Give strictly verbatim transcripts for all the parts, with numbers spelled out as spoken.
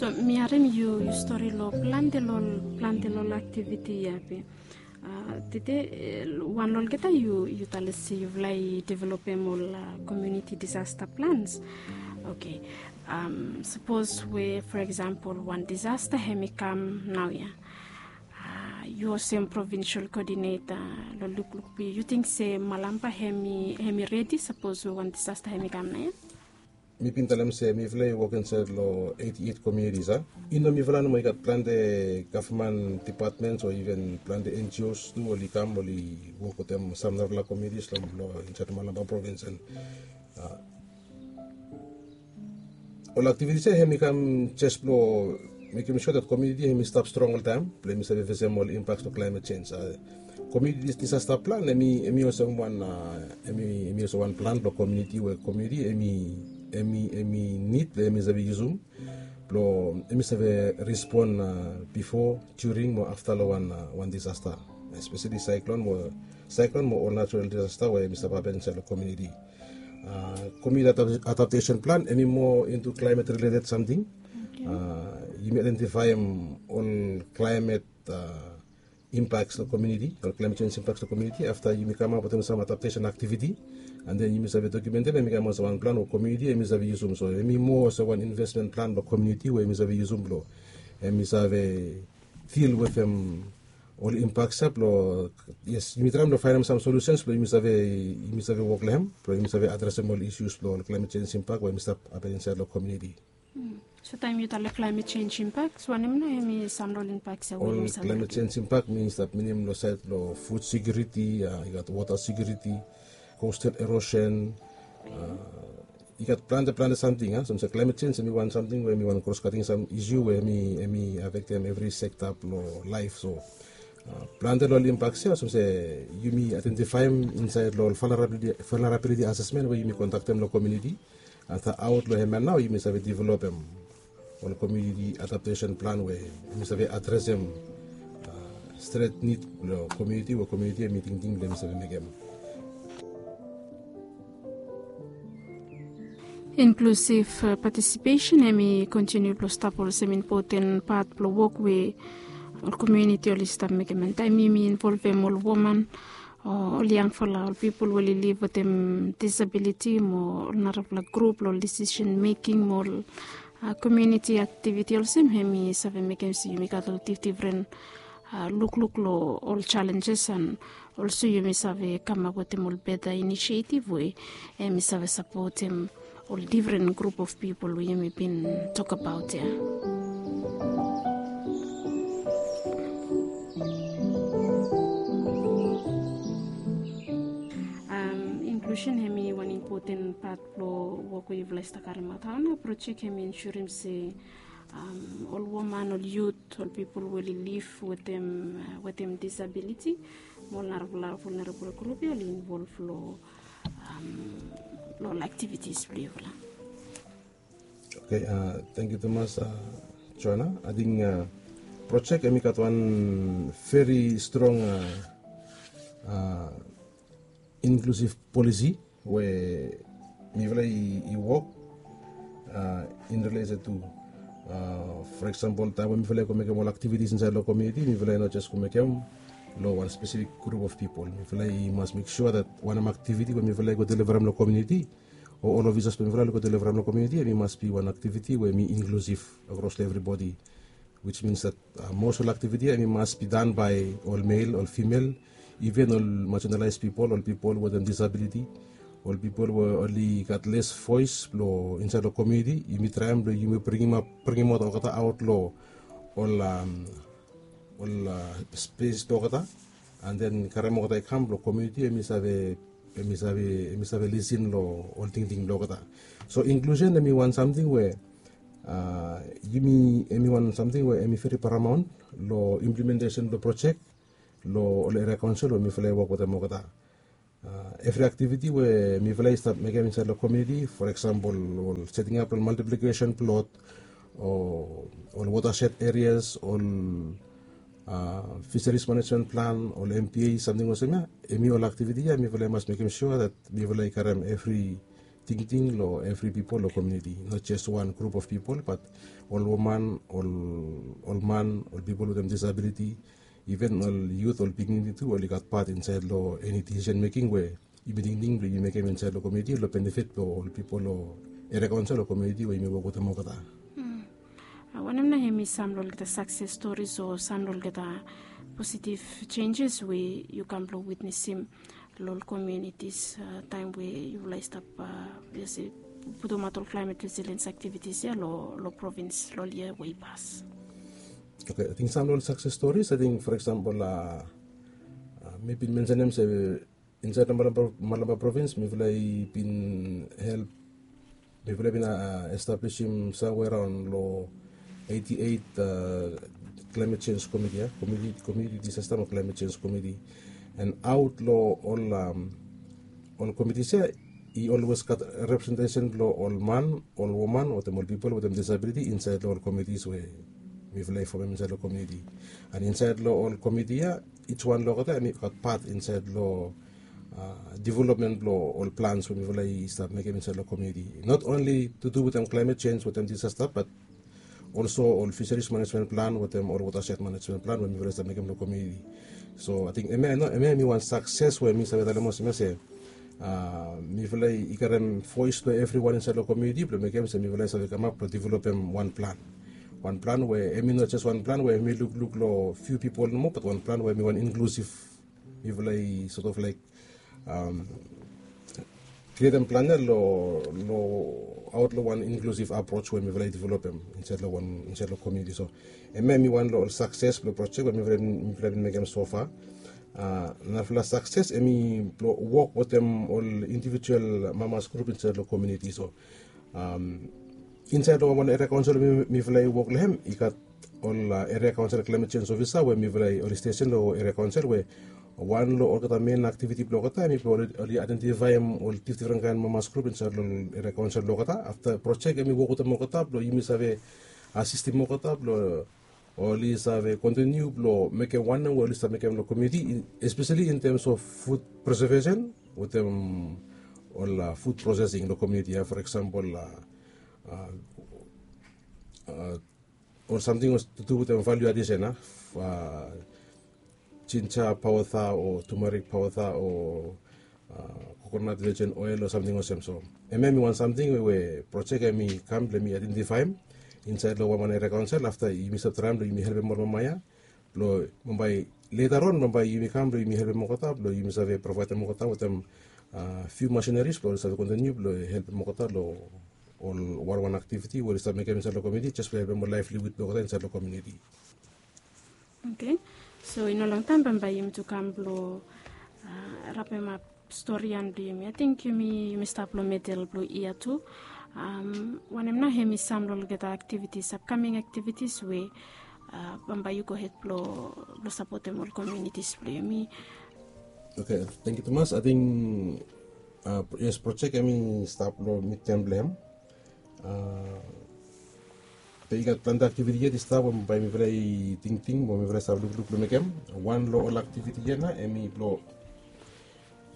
So mi harim yu yu stori long plante long plante long aktiviti ya be. Tede wan long olgeta yu yu talem se yufala i developem ol komuniti disasta plans. Oke. Sapos we for eksampel wan disasta hem i kam nau ya, yu olsem provinsel kodineta long lukluk blong yu yu ting se malampa hem i redi sapos we wan disasta hem i kam nau ya? Mi bin talem se mifala i wok insaed long eighty-eight communities a. I no mifala nomo i gat plante gavman depatmens o iven plante NGOs tu oli kam oli wok wetem sam narafala communities long insaed long Malampa provins and ol aktivitis ya hem i kam jes blong mekim sua dat komuniti hem i stap strong oltaem blong hem i save fesem ol impaks blong klaimet sens. Komuniti disasta plan hem i olsem wan hem i olsem wan plan blong komuniti we komuniti hem i hem i nid blong hem i save yusum blong hem i save respon bifo, during mo afta long wan wan disasta, espeseli saiklon mo saiklon mo ol natural disasta we hem i stap hapen insaed long komuniti. Komuniti adaptesen plan hem i moa intu klaimet rileted samting. Yumi aidentifaem ol klaimet impaks long komuniti, ol klaimet sens impaks long komuniti afta yumi kamap wetem sam adaptesen aktiviti. An den yumi save dokumentem hem i kam olsem wan plan we komuniti hem i save yusum so hem i moa olsem wan invesmen plan blong komuniti we hem i save yusum blong hem i save dil wetem ol impaks ya blong yes yumi traem blong faenem sam solusens blong yumi save yumi save wok long hem blong yumi save adresem ol isus blong ol klaimet sens impak we hem i stap hapen insaed long komuniti. So taem yu talem klaimet sens impak wanem nao hem i sam long ol impak ya we ol yumi save klaimet sens impak mi stap minim long saed blong fud sekiuriti, i gat wota sekiuriti, kostal erosen, i gat plante plante samting a olsem se klaimet sens hem i wan samting we hem i wan kroskating sam isu we hem i afektem evri sekta blong laef so plante long ol impaks ya olsem se yumi aidentifaem insaed long ol valnerabiliti asesmen we yumi kondaktem long komuniti. Afta aot long hem ya nao yumi save developem ol komuniti adaptesen plan we yumi save adresem stret nid blong komuniti we komuniti hem i tingting blong hem i save mekem. Inklusiv patisipesen hem i kontiniu blong stap olsem impoten pat blong wok we ol komuniti oli stap mekem an taem yumi involvem ol woman o ol yangfala ol pipol we oli liv wetem disabiliti mo ol narafala grup long ol disisen meking mo ol komuniti aktiviti olsem hem i save mekem se yumi gat ol difdifren lukluk long ol jalenjes an olso yumi save kamap wetem ol beta inisiativ we hem i save sapotem ol difren grup of pipol we yumi bin tokabaot ya. Inklusen hem i wan impoten pat blong wok we yufala i stap karimaot hao nao projek hem i insurim se ol woman ol yut ol pipol we oli liv wetem disabiliti mo ol narafala vulnerabol grup ya oli involv long ol aktivitis blong yufala. Oke, tangkiu tumas joana. Ating projek hem i gat wan veri strong inklusiv polisi we mifala i wok in relesen tu for eksampol taem we mifala i go mekem ol aktivitis insaed long komiuniti mifala i no jes go mekem long wan spesifik grup of pipol. Mifala i mas mek sua dat wanem aktiviti we mifala i go delivarem long komiuniti o ol ofisas blong mifala oli go delivarem long komiuniti em i mas bi wan aktiviti we em i inklusiv akros long evribodi. Wis mins dat mos ol aktiviti ya em i mas bi dan bae ol mel ol fimel, iven ol majenalaes pipol ol pipol wetem disabiliti, ol pipol we oli gat les voes blong insaed long komiuniti yumi traem blong yumi bringim ap bringim aot olgeta aot long ol spes blong olgeta. An den karem olgeta i kam blong komiuniti em i save em i save em i save lisin long ol tingting blong olgeta. So inklusen em i wan samting we yumi em i wan samting we em i veri paramaon long implementesen blong projek long ol eria kaonsel we mifala i wok wetem olgeta. Evri aktiviti we mifala i stap mekem insaed long komiuniti for eksampol ol setingap long maltiplikesen plot o ol wotased erias ol fiseris manejmen plan ol mpa samting olsem ya, em i ol aktiviti ya mifala i mas mekem sua dat mifala i karem evri tingting long evri pipol long komuniti, not jes wan grup of pipol, bat ol woman, ol ol man, ol pipol wetem disabiliti, even ol yut, ol pikinini tu, oli gat pat insaed long eni disisen meking we yumi tingting blong yumi mekem insaed long komuniti long benefit blong ol pipol long eria kaonsel o komuniti we yumi wok wetem olgeta. Wanem nao hemi sam long olgeta sakses storis o sam long olgeta positiv jenjes we yu kam blong witnesim long ol komunitis taem we yufala i stap putumaot ol klaemet resiliens aktivitis ya long provins long ol yia we i pas? Oke, ating sam long ol sakses storis, ating for eksampol, mi bin mensenem se insaed long Malampa provins mifala i bin help, mifala i bin establisim samwe raon long eiti eit klaemet jenj komiti ya, komuniti disasta mo klaemet jenj komiti. An aot long ol komitis ya i olwes gat representesen blong ol man, ol woman wetem ol pipol wetem disabiliti insaed long ol komitis we mifala i fomem insaed long komuniti. An insaed long ol komiti ya, ij wan long olgeta em i gat pat insaed long developmen blong ol plans we mifala i stap mekem insaed long komuniti, not onli tu du wetem klaemet jenj wetem disasta, bat olso ol fiseris manejmen plan wetem ol wotased manejmen plan we mifala i stap mekem long komuniti. So ating hemia hemi wan sakses we mi save talem olsem ya se mifala i karem voes blong evriwan insaed long komuniti blong mekem se mifala i save kamap blong developem wan plan. Wan plan we hemi no jes wan plan we hemi lukluk long fiu pipol nomo, bat wan plan we hemi wan inklusiv, mifala i sot of laik krietem plan ya long aot long wan inklusiv aproj we mifala i developem insaed long wan insaed long komuniti. So hemia hemi wan long ol sakses blong projek we mifala i bin mekem sofa. Narafala sakses hemi blong wok wetem ol indivijual mamas grup insaed long komuniti. So insaed long wan eria kaonsel we mifala i wok long hem i gat ol eria kaonsel klaemet jenj ofisa we mifala i oli stesen long eria kaonsel we wan long olgeta men aktiviti blong olgeta hemi blong oli aedentifaem ol difdifren kaen mamas grup insaed long eria kaonsel blong olgeta. Afta projek hemi wok wetem olgeta blong yumi save asistem olgeta blong oli save kontiniu blong mekem wanem we oli stap mekem long komuniti, espeseli in tems of fud presevesen wetem ol fud prosesing long komuniti ya, for eksampol ol samting we tu du wetem valiu adisen ya, jinja paoda o tumarik paoda o kokonat vejen oel o samting olsem. So hemia hemi wan samting we projek hemi kam blong hemi aedentifaem insaed long wan wan eria kaonsel afta yumi stap traem blong yumi helpem ol mama ya blong bambae leta raon bambae yumi kam blong yumi helpem olgeta blong yumi save provaedem olgeta wetem fiu masineris blong oli save kontiniu blong helpem olgeta long ol wanwan aktiviti we oli stap mekem insaed long komuniti jes blong helpem ol laevliwud blong olgeta insaed long komuniti. Oke. So i no longtaem bambae yumi tu kam blong rapemap stori ya blong yumi. Ating yumi stap long midel blong yia tu. Wanem nao hemi sam long olgeta aktivitis, apkaming aktivitis we bambae yu gohed blong sapotem ol komunitis blong yumi? Oke, tangkiu tumas. Ating yes, projek hemi stap long midtem blong hem. Be i gat plante aktiviti yet i stap we bae mifala i tingting mo mifala i stap lukluk blong mekem. Wan long ol aktiviti ya nao hemi blong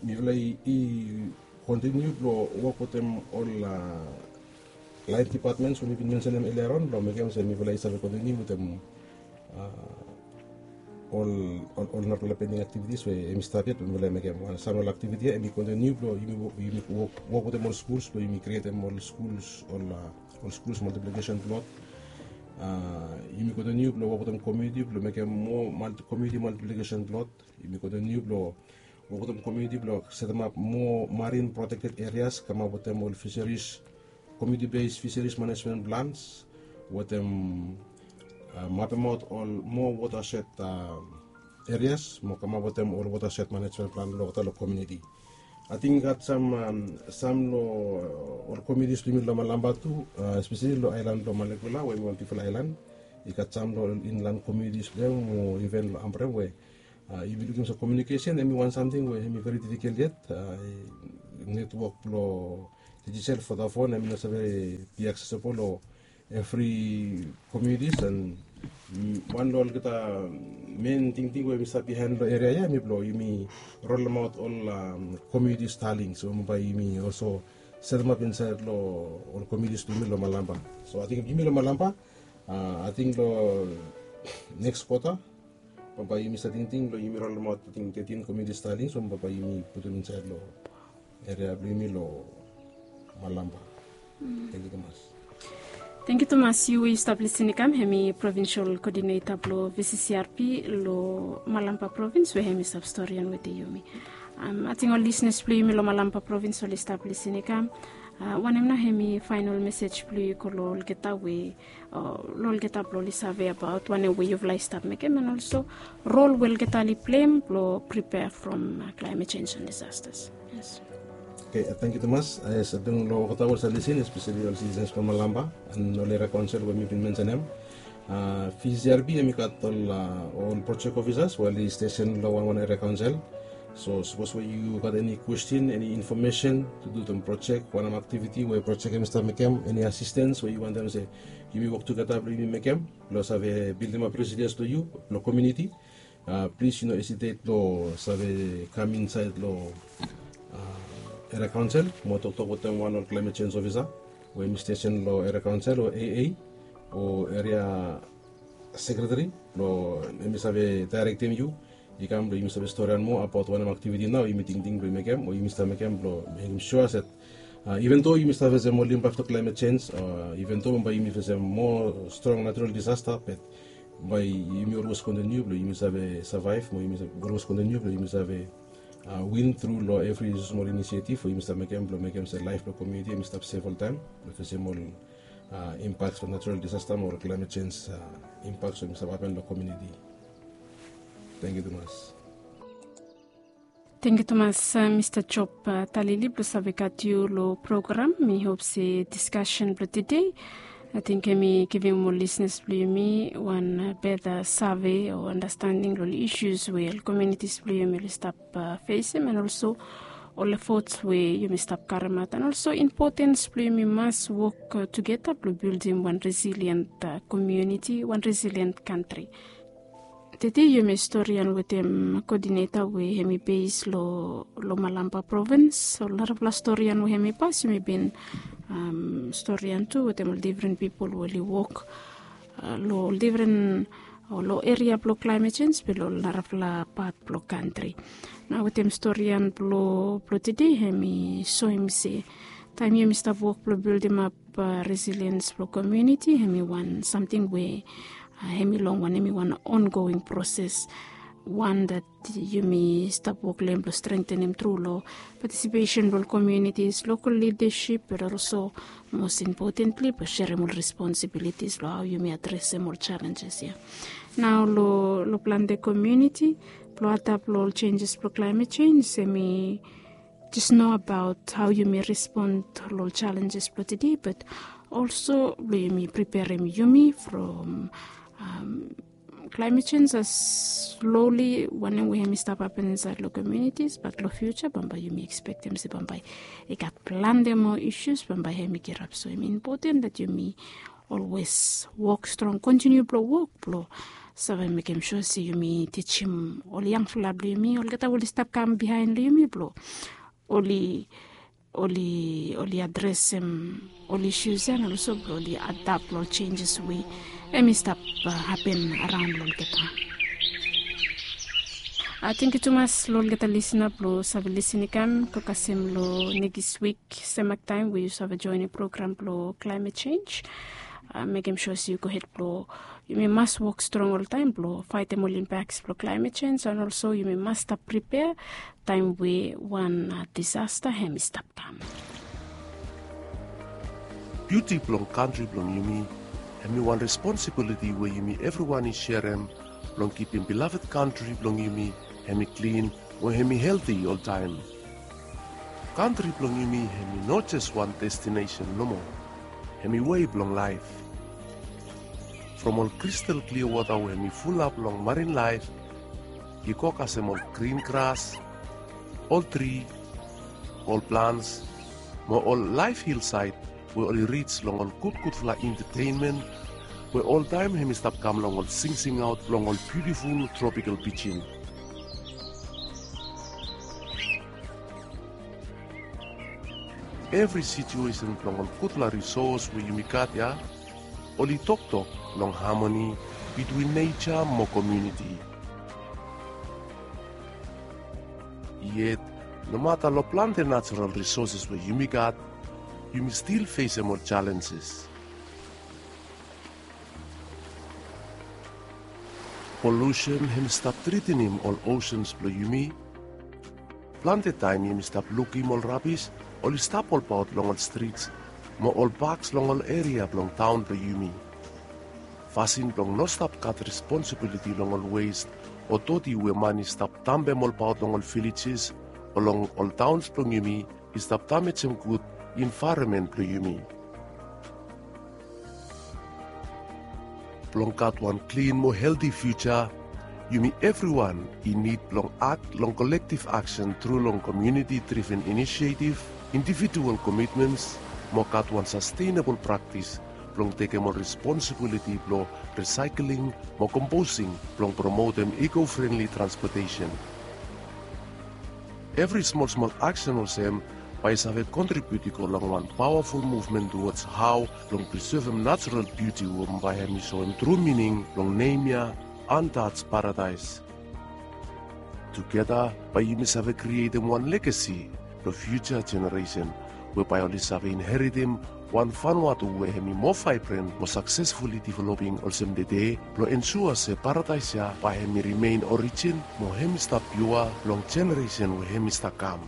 mifala i kontiniu blong wok wetem ol laen dipatmens we mi bin mensenem elia raon blong mekem olsem mifala i save kontiniu wetem ol ol narafala pending aktivitis we hemi stap yet we mifala i mekem. Wan sam long ol aktiviti ya hemi kontiniu blong yumi wok wetem ol skuls blong yumi krietem ol skuls ol skuls maltiplikesen plot. Yumi kontiniu blong wok wetem komuniti blong mekem moa komuniti maltiplikesen plot. Yumi kontiniu blong wok wetem komuniti blong setemap moa marin protekted erias kamap wetem ol fiseris, komuniti bes fiseris manejmen plans wetem mapemaot ol moa wotaset erias mo kamap wetem ol wotaset manejmen plan blong olgeta long komuniti. Ating i gat sam sam long ol komunitis blong yumi long Malampa tu, espeseli long aelan blong Malekula we hemi wan bigfala aelan. I gat sam long ol inlan komunitis blong hem o iven long Ambrem we yumi lukim olsem komiunikesen hemi wan samting we hemi veri difikol yet. Netwok blong dijital Vodafone hemi no save be aksesebol long evri komunitis. An wan long olgeta men tingting we mi stap bihaen long eria ya hemi blong yumi rolemaot ol komuniti Starlink. So bae yumi olso setemap insaed long ol komiunitis blong yumi long Malampa. So ating yumi long Malampa, ating long neks kwota bambae yumi save tingting blong yumi rolemaot ating tetin komiuniti staling, so bambae yumi putum insaed long eria blong yumi long Malampa. Tangkiu tumas. Tangkiu tumas. Yu we yu stap lisin i kam, hemi provinsel koodineta blong V C C R P long Malampa provins we hemi stap storian wetem yumi. Ating ol lisenas blong yumi long Malampa provins oli stap lisin i kam, wanem nao hemi faenol mesej blong yu i go long olgeta we long olgeta blong oli save abaot wanem we yufala i stap mekem, and olso rol we olgeta oli pleim blong pripea from klaemet jenj and disastas. Yes. Oke, tangkiu tumas. Yes, ating long olgeta we oli save lisin, espeseli ol sitisens blong Malampa and ol eria kaonsel we mi bin mensenem. V C R P hemi gat ol projek ofisas we oli stesen long wanwan eria kaonsel. So sapos we yu gat eni kwestin, eni infomesen tu du wetem projek, wanem aktiviti we projek hemi stap mekem, eni asistens we yu wantem se yumi wok tugeta blong yumi mekem blong save bildimap resiliens blong yu, blong komiuniti, plis yu no esitet blong save kam insaed long eria kaonsel mo toktok wetem wan ol klaemet jenj ofisa we hemi stesen long eria kaonsel o A A o eria sekreteri blong hemi save daerektem yu i kam blong yumi save storian moa abaot wanem aktiviti nao yumi tingting blong yumi mekem o yumi stap mekem blong mekem sua se iven do yumi stap fesem ol impak blong klaemet jenj, iven do bambae yumi fesem moa strong natural disasta, be bambae yumi olwes kontiniu blong yumi save savaev mo yumi olwes kontiniu blong yumi save win tru long evri smol inisiativ we yumi stap mekem blong mekem se laef blong komiuniti hemi stap sef oltaem blong fesem ol impak blong natural disasta mo ol klaemet jenj impak we hemi stap hapen long komiuniti. Tangkiu tumas. Tangkiu tumas, Mista Job Talili, blong save gat yu long program. Mi hop se diskasen blong tede ating hemi givim ol lisenas blong yumi wan beta save o andastanding long ol isus we ol komiunitis blong yumi oli stap fesem, and olso ol efots we yumi stap karimaot, and olso impotens blong yumi mas wok tugeta blong bildim wan resilient komiuniti, wan resilient kantri. Tede yumi storian wetem koodineta we hemi bes long Malampa provins. Ol narafala storian we hemi pas yumi bin storian tu wetem ol difren pipol we oli wok long ol difren, long eria blong klaemet jenj be long ol narafala pat blong kantri. Nao wetem storian blong tede hemi soem se taem yumi stap wok blong bildimap resiliens blong komiuniti hemi wan samting we hemi long wan, hemi wan ongoing proses, wan dat yumi stap wok long hem blong strengtenem tru long patisipesen blong ol komiunitis, lokal lidasip, be olso mos impotentli blong serem ol responsibilitis long hao yumi adresem ol jalenjes ya. Nao long plante komiuniti blong adap long ol jenjes blong klaemet jenj, hemi jes no abaot hao yumi respon long ol jalenjes blong tede, be olso blong yumi priperem yumi from klaemet jenj as sloli wanem we hemi stap hapen insaed long komiunitis, be long fiuja bambae yumi ekspektem se bambae i gat plante moa isus bambae hemi kirap. So hemi impoten dat yumi olwes wok strong, kontiniu blong wok blong save mekem sua se yumi tijim ol yangfala blong yumi, olgeta we oli stap kam bihaen long yumi blong oli, oli, oli adresem ol isus ya, and olso blong oli adap long ol jenjes we hemi stap hapen araon long olgeta. Tangkiu tumas long olgeta lisina blong save lisin i kam. Go kasem long nekis wik semak taem we yu save joenem program blong klaemet jenj. Mekem sua se yu gohed blong yumi mas wok strong oltaem blong faetem ol impaks blong klaemet jenj, and olso yumi mas stap pripea taem we wan disasta hemi stap kam. Biuti blong kantri blong yumi hemi wan responsibiliti we yumi evriwan i serem blong kipim bilaved kantri blong yumi hemi klin mo hemi helti oltaem. Kantri blong yumi hemi no jes wan destinesen nomo, hemi wei blong laef. From ol kristal klia wota we hemi fulap long marin laef i go kasem ol grin gras, ol tri, ol plans mo ol laef hilsaed we oli rij long ol gudgudfala entetenmen we oltaem hemi stap kam long ol singsingaot blong ol biutiful tropikal pijin. evri situesen blong ol gudfala risos we yumi gat ya, oli toktok long hamoni bitwin neja mo komuniti. Yet, nomata long plante najerol risoses we yumi gat, yumi stil fesem ol jalenjes. Polusen hem i stap tritinim ol osens blong yumi. Plante taem yumi stap lukim ol rabis oli stap olbaot long ol strits mo ol paks long ol eria blong taon blong yumi. Fasin blong no stap gat responsibiliti long ol wes o doti we man i stap dampem olbaot long ol vilejes o long ol taons blong yumi i stap damejem gud envaeronmen blong yumi. Blong gat wan klin mo helti fiuja, yumi evriwan i nid blong akt long kolektiv aksen tru long komuniti driven inisietiv, individual komitmens, mo gat wan sastenabol praktis blong tekem ol responsibiliti blong risaekling mo komposing blong promotem eko-frenli transpotesen. Evri smolsmol aksen olsem bae i save kontribiut i go long wan pawaful muvmen tuwods hao blong prisevem najerol biuti we bae hem i soem tru mining blong nem ya, Untouched Paradise. Tugeta bae yumi save krietem wan legasi blong fiuja jeneresen we bae oli save inheritem wan Vanuatu we hem i moa vaebren mo saksesfuli developing olsem tede, blong ensua se paradaes ya bae hem i rimen orijin mo hem i stap piua long jeneresen we hem i stap kam.